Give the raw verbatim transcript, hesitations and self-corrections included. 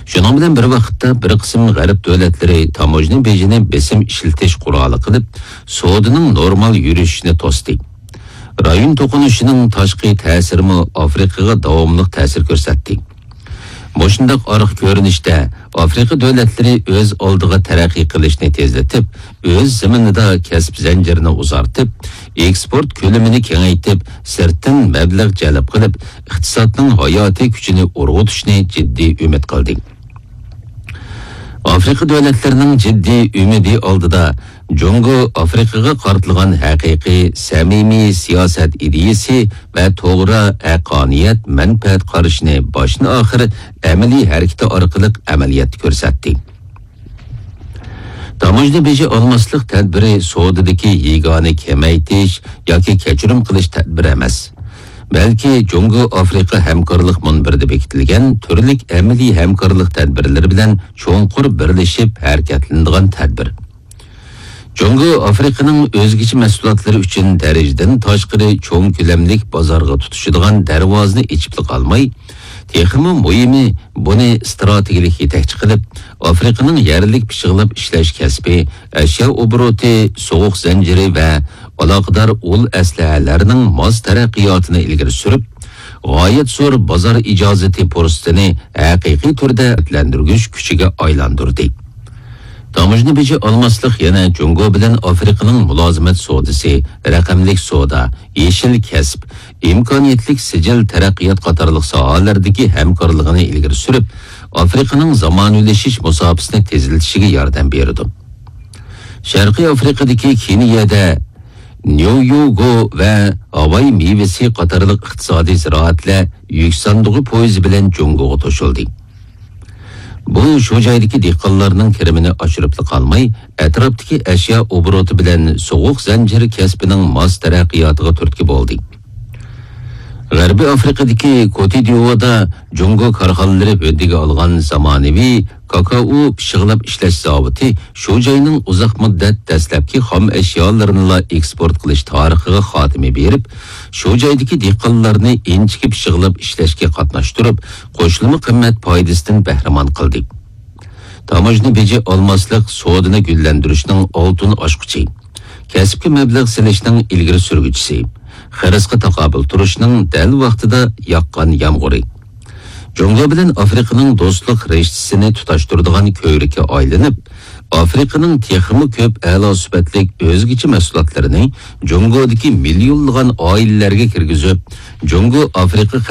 شۇنىڭ بىلەن بىر ۋاقىتتا، بىر قىسىم غەرب دۆلەتلىرى تاموژنا بېجىنى بېسىم ئىشلىتىش قورالى قىلىپ، سودىنىڭ نورمال يۈرۈشۈشىنى توستى. رايون توقۇنۇشىنىڭ تاشقى تەسىرىمۇ ئافرىقىغا داۋاملىق تەسىر كۆرسەتتى. مۇشۇنداق ئارقا كۆرۈنۈشتە، ئافرىقا دۆلەتلىرى ئۆز ئالدىغا تەرەققىي قىلىشنى تېزلىتىپ، ئۆز زېمىنىدا كەسىپ زەنجىرىنى ئۇزارتىپ، ئېكسپورت كۆلىمىنى كېڭەيتىپ، سىرتتىن مەبلەغ جەلپ قىلىپ، ئىقتىسادنىڭ ھاياتىي كۈچىنى ئۇرغۇتۇشنى جىددىي ئۈمىد قىلدى. ئافرىقا دۆلەتلىرىنىڭ جىددىي ئۈمىدى ئالدىدا، جۇڭگو ئافرىقىغا قارىتىلغان ھەقىقىي، سەمىمىي سىياسەت ئىدىيىسى ۋە توغرا، ھەققانىيەت، مەنپەئەت قارىشىنى باشتىن-ئاخىر ئەمەلىي ھەرىكىتى ئارقىلىق ئەمەلىيەتتە كۆرسەتتى. تاموژنا بېجى ئالماسلىق تەدبىرى سودىدىكى يېگانە كېمەيتىش ياكى كەچۈرۈم قىلىش تەدبىرى ئەمەس، بەلكى جۇڭگو ئافرىقا ھەمكارلىق مۇنبىرىدە بېكىتىلگەن تۈرلۈك ئەمەلىي ھەمكارلىق تەدبىرلىرى بىلەن چوڭقۇر بىرلىشىپ ھەرىكەتلىنىدىغان تەدبىر. جۇڭگو ئافرىقىنىڭ ئۆزگىچە مەھسۇلاتلىرى ئۈچۈن دەرىجىدىن تاشقىرى چوڭ كۆلەملىك بازارغا تۇتىشىدىغان دەرۋازىنى ئېچىپلا قالماي، تېخىمۇ مۇھىمى، بۇنى ئىستراتېگىيەلىك يېتەكچى قىلىپ، ئافرىقىنىڭ يەرلىك پىششىقلاپ ئىشلەش كەسپى، ئەشيا ئوبوروتى، سوغۇق زەنجىرى ۋە ئالاقىدار ئۇل ئەسلىھەلەرنىڭ ماس تەرەققىياتىنى ئىلگىرى سۈرۈپ، غايەت زور بازار ئىجازىتى پۇرسىتىنى ھەقىقىي تۈردە رىغبەتلەندۈرگۈچ كۈچىگە ئايلاندۇردى. تاموژنا بېجى ئالماسلىق يەنە جۇڭگو بىلەن ئافرىقىنىڭ مۇلازىمەت سودىسى، رەقەملىك سودا، يېشىل كەسىپ، ئىمكانىيەتلىك سىجىل تەرەققىيات قاتارلىق ساھەلەردىكى ھەمكارلىقىنى ئىلگىرى سۈرۈپ، ئافرىقىنىڭ زامانىۋىلىشىش مۇساپىسىنى تېزلىتىشىگە ياردەم بېرىدۇ. شەرقىي ئافرىقىدىكى كېنىيەدە نيويوگو ۋە ھاۋاي مېۋىسى قاتارلىق ئىقتىسادىي زىرائەتلەر يۈك ساندۇقى پويىزى بىلەن جۇڭگوغا توشۇلدى. بۇ شۇ جايدىكى دېھقانلارنىڭ كىرىمىنى ئاشۇرۇپلا قالماي، ئەتراپتىكى ئەشيا ئوبوروتى بىلەن سوغۇق زەنجىر كەسپىنىڭ ماس تەرەققىياتىغا تۈرتكە بولدى. غەربىي ئافرىقىدىكى كوتىدىئودا جۇڭگو كارخانىلىرى ھۆددىگە ئالغان زامانىۋى كاكائو پىششىقلاپ ئىشلەش زاۋۇتى شۇ جاينىڭ ئۇزاق مۇددەت دەسلەپكى خام ئەشيالىرىنىلا ئېكسپورت قىلىش تارىخىغا خاتىمە بېرىپ، شۇ جايدىكى دېھقانلارنى ئىنچىكە پىششىقلاپ ئىشلەشكە قاتناشتۇرۇپ، قوشۇلما قىممەت پايدىسىدىن بەھرىمەن قىلدى. تاموژنا بېجى ئالماسلىق سودىنى گۈللەندۈرۈشنىڭ ئالتۇن ئاچقۇچى، كەسىپكە مەبلەغ سېلىشنىڭ ئىلگىرى سۈرگۈچىسى، خىرىسقا تاقابىل تۇرۇشنىڭ دەل ۋاقتىدا ياغقان يامغۇرى. جۇڭگو بىلەن ئافرىقىنىڭ دوستلۇق رىشتىسىنى تۇتاشتۇرىدىغان كۆۋرۈككە ئايلىنىپ، ئافرىقىنىڭ تېخىمۇ كۆپ ئەلا سۈپەتلىك ئۆزگىچە مەھسۇلاتلىرىنى جۇڭگودىكى مىليونلىغان ئائىلىلەرگە كىرگۈزۈپ، جۇڭگو ئافرىقا